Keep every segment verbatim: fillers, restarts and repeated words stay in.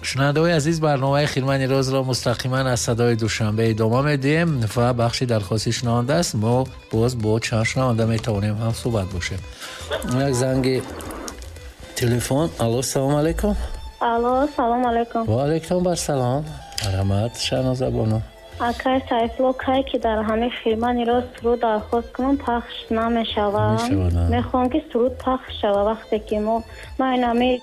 Шунавандаҳои азиз, барномаи Хирмани розро мустақиман аз Садои Душанбе идома медиҳем ва бахши дархости шунаванда аст. Мо боз бо чанд шунаванда метавонем ҳам суҳбат бошем. Як занги телефон. Алло, салом алейкум. Алло, салом алейкум. Ва алейкум барсалом. Марҳамат, Шаҳноза бону. Акай Сайфулло, кай ки дар ҳамин Хирмани роз суруд дархост кунам, пахш намешавад. Мехоҳам, ки суруд пахш шава, вақте ки мо ман инами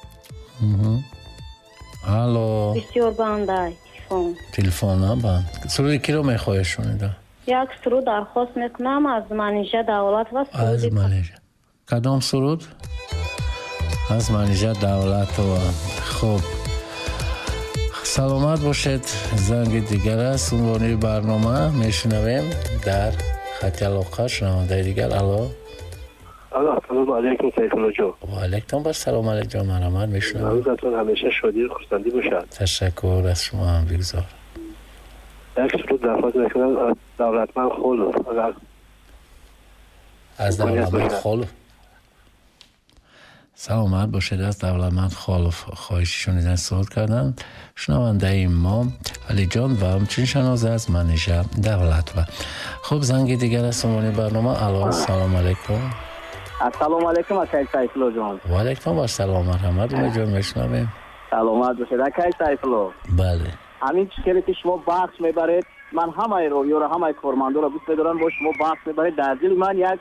Алло. Бисёр бандай телефон. Телефон банд. Суруди киро мехоҳед шунида? Як суруд дархост мекунам аз Манижа Давлатова. Аз Манижа. Кадом суруд? Аз Манижа Давлатова. Хуб, саломат бошед. Занги дигар аст. Унвони барнома мешунавем. Дар хати алоқа шунавандаи дигар. Алло. Алло, ассалому алайкум, Сайфулло ҷон. Ва алайкум ассалом, Алиҷон, марҳамат, мешунавам. Рӯзатон ҳамеша шодӣ ва хурсандӣ бошад. Ташаккур, аз шумо ҳам бигзор. Як суруд дархост мекунам аз Давлатманд Холов, агар аз Давлатманд Холов. Саломат бошед. Аз Давлатманд Холов хоҳиши шунидан суруд карданд шунавандаи мо Алиҷон ва ҳамчунин Шаҳноза аз Манижа Давлатова. Хуб, занги дигар аз унвони барнома. Алло, салом алейкум. Ассалому алайкум, акай Сайфулло ҷон. Ва алайкум ассалом, марҳамат, Умедҷон, мешунавем. Саломат бошед, акай Сайфулло. Бале. Ҳамин чизе ки шумо бахш мебаред, ман ҳамаи ровиёро, ҳамаи кормандоро дӯст медорам, бо шумо бахш мебаред, дар дили ман як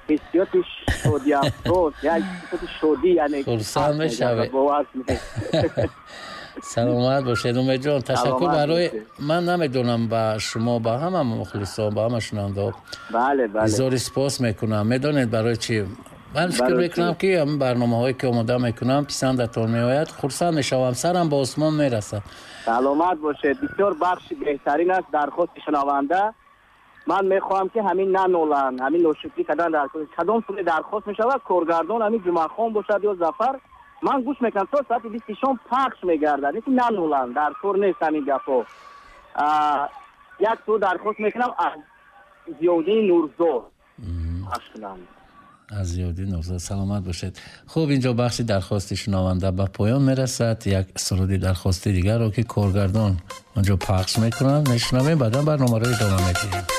ҳиссиёти шодӣ афроз, як ҳиссиёти шодӣ, яъне хурсанд мешавед. Бовар кунед. Саломат бошед, Умедҷон, ташаккур. Барои ман намедонам, ба шумо, ба ҳама мухлисон, ба ҳама шунавандаҳо бале бале изҳори сипос мекунам. Медонед барои чӣ? Ман фикр мекунам, ки ҳамин барномаҳое ки омода мекунам, писандатон меояд. Хурсанд мешавам, сарам ба осмон мерасад. Саломат бошед. Бисёр бахши беҳтарин аст дархости шунаванда. Ман мехоҳам, ки ҳамин наноланд, ҳамин ношукрӣ кардан дар кадом суре дархост мешавад, коргардон ҳамин Ҷумъахон бошад ё Зафар, ман гӯш мекунам, то соати бисти шом пахш мегардад. Лекин наноланд, дар кор нест ҳамин гапҳо. Як суруд дархост мекунам аз Зиёддини Нурзод, пахш кунам. Аз Зиёддин Нурзод. Саломат бошед. Хуб, инҷо бахши дархости шунаванда ба поён мерасад. Як суруди дархости дигарро, ки коргардон онҷо пахш мекунанд, мешунавем, баъдан барномаро идома медиҳем.